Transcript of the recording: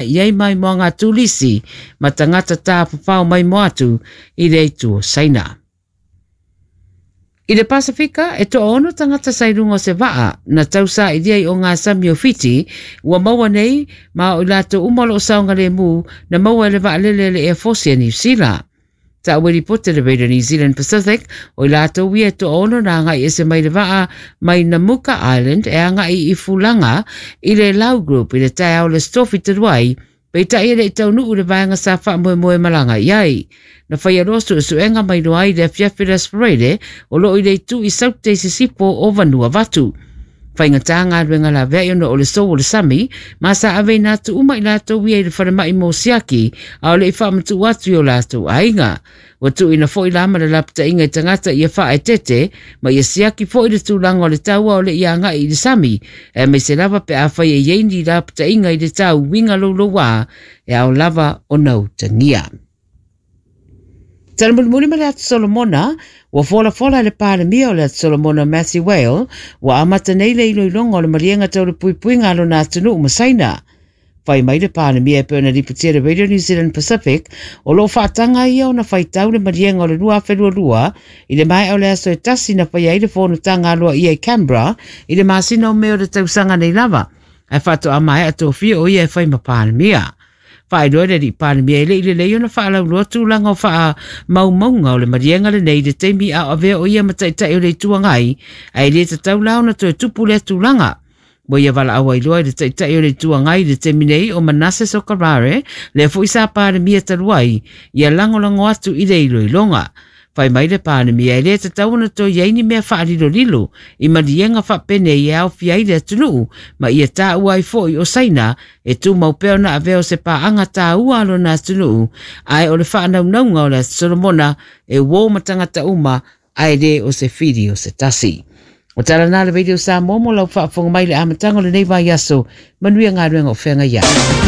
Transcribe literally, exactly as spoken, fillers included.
I ai mai mo ngā tulisi ma tangata tāwhawhao mai mo atu i le itu o Saina. I le Pasifika, e toa ono tangata sa i runga o se vaa na tausa i lia i o ngā sami o Fiti, ua maua nei ma o i latou uma o loo saogalemu na maua e le vaalele a le Air Force a Niu Sila. Taua e ripote le Radio New Zealand Pacific, o i latou ia e toa ono na agai ese mai le vaa mai Namuka Island e agai i Fulaga i le Lau Group i le taeao o le Aso Tofi talu ai, peitai e le i taunuu i le vaega sa faamoemoe malaga i ai. Na faia loa suesuega ma iloa ai i le afiafi o le Aso Faraile o loo i le itu i Saute i sisifo o Vanuatu. Faigata galuega laveai ona o le sou o le sami, ma sa aveina atu uma i latou ia i le falemai mo siaki, a o le i faamatuu atu i o latou aiga. Ua tuuina foi la ma le lapataiga i tagata ia faaeteete ma ia siaki foi le tulaga o le tau a o le i agai i le sami, aemaise lava pe afai e i ai ni lapataiga i le tau uiga louloua e ao lava ona utagia. Tala mulimuli ma le Atu Solomona, ua folafola e le Palemia o le Atu Solomona Matthew Whale, ua amata nei le iloiloga o le maliega tau le puipuiga a lona atunuu ma Saina. Fai mai le Palemia e pei ona lipotia e le Radio New Zealand Pacific, o lo o faataga ia ona faitau le maliega o le lua afe lua lua i le maea o le aso e tasi na faia ai le fonotaga aloaia i Canberra i le masina o Me o le tausaga nei lava, ae faatoa maea tofia o ia e fai ma Palemia. Faailoa e le alii Palemia e le i lelei ona faalauiloa tulaga o faamaumauga o le maliega lenei i le taimi a o avea o ia ma Taitai o le Itu Agai, ae le tatau la ona toe tupu lea tulaga. Ua ia valaau ai loa i le Taitai o le Itu Agai i le taimi nei o Manasseh Sogavare, lea foi sa Palemia talu ai, ia lagolago atu i le iloiloga. Fai mai le Palemia e le tatau ona toe i ai ni mea faalilolilo i maliega faapenei e aofia ai le atunuu ma ia taua ai foi o Saina e tumau pea ona avea o se paaga taua a lona atunuu, ae o le faanaunauga o le Atu Solomona e uo ma tagata uma ae le o se fili o se tasi. O tala na le Radio Samoa mo lau faafofoga mai i le amataga o lenei vaiaso. Manuia galuega o feagai ai.